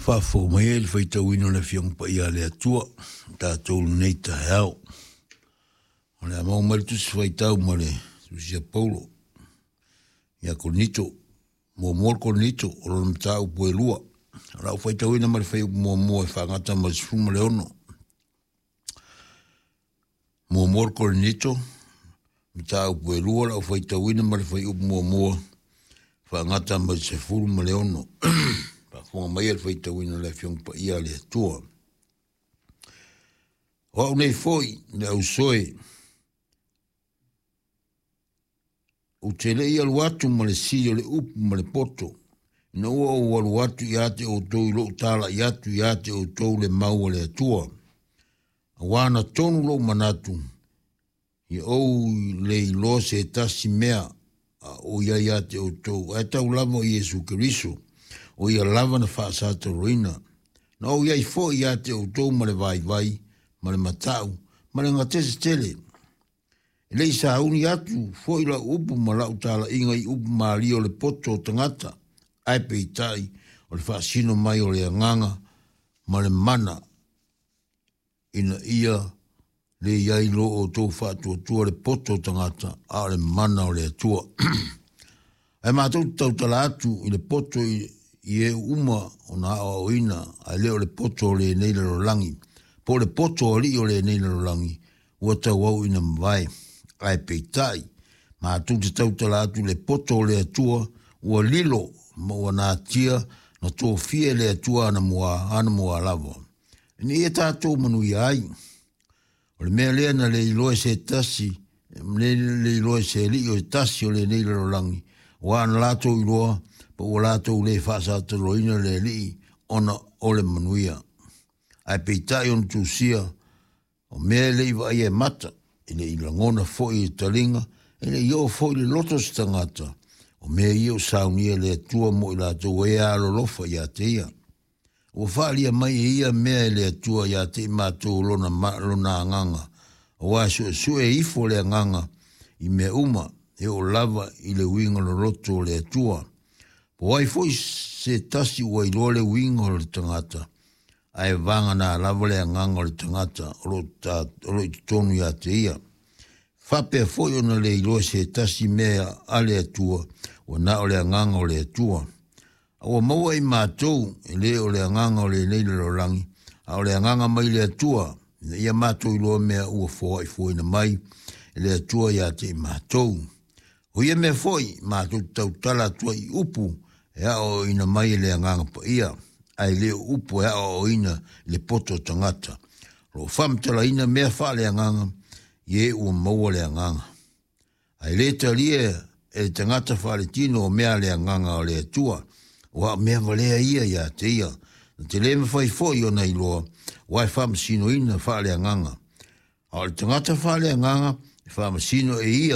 Faafofoga mai ai le faitauina o le Afioga Paia a le Atua o tatou i lenei taeao. O le a maua mai le tusi faitau ma le tusi a Paulo ia Korinito. Muamua le Korinito o lona mataupu e lua. O lau faitauina ma le fuaiupu muamua e faagata ma le 16. Muamua le Korinito, mataupu e lua lau faitauina ma le fuaiupu muamua faagata ma le 16. Faafofoga mai le faitauina o le Afioga Paia a le Atua. O au nei foi le ausoe, ou te le i alu atu ma le sili o le upu ma le poto, ina ua ou alu atu ia te outou i lou talai atu ia te outou le mau a le Atua. Auā na tonu lou manatu, ia ou le iloa se tasi mea a o i ai ia te outou, ae tau lava o Iesu Keriso, o ia lava na faasataloina. Na ou i ai foi ia te outou ma le vaivai, ma le mata'u, ma le gatese tele. E le i sauni atu foi lau upu ma lau talaiga i upu malie o le poto o tagata, ae peitai o le faasino mai o le agaga ma le mana ina ia le i ai lo outou faatuatua le poto o tagata, a o le mana o le Atua. Ae matou te tautala atu i le poto i e uma ona aoaoina, ae le o le poto o lenei lalolagi, po o le poto o alii o lenei lalolagi, ua tauau ina mavae. Ae peitai, matou te tautala atu i le poto o le Atua, ua lilo ma ua natia na tofia e le Atua anamua lava, ina ia tatou manuia ai. O le mea lea na le iloa e se tasi, le iloa e se alii o se tasi o lenei lalolagi, aua na latou iloa, pa ua latou le faasataloina le alii ona o le manuia. Ae peitai ona tusia, o mea e le i vaaia e mata, e le i lagona foi e taliga, e le i oo foi i le loto o se tagata, o mea ia ua saunia e le Atua mo i latou e alolofa ia te ia. Ua faaalia mai e ia mea e le Atua ia te i matou lona, lona agaga, aua e suesue ifo le agaga i mea uma, e oo lava i le uiga loloto o le Atua. Po o ai foi se tasi ua iloa le uiga o le tagata, ae vagana lava le agaga o le tagata o lo o i totonu ia te ia. Faapea foi ona le iloa se tasi mea a le Atua, ua na o le agaga o le Atua. A ua maua e i matou, e le o le agaga o lenei lalolagi, a o le agaga mai le Atua, ina ia matou iloa mea ua foaifoaina mai e le Atua ia te i matou. O ia mea foi, matou te tautala atu ai i upu e aoaoina mai e le Agaga Paia, ae le o upu e aoaoina i le poto o tagata. O lo o faamatalaina mea faaleagaga i e ua maua le agaga. Ae le talia e le tagata faaletino o mea a le agaga o le Atua, aua o mea valea ia ia te ia, na te le mafai foi ona iloa, aua e faamasinoina faaleagaga. A o le tagata faaleagaga e faamasino e ia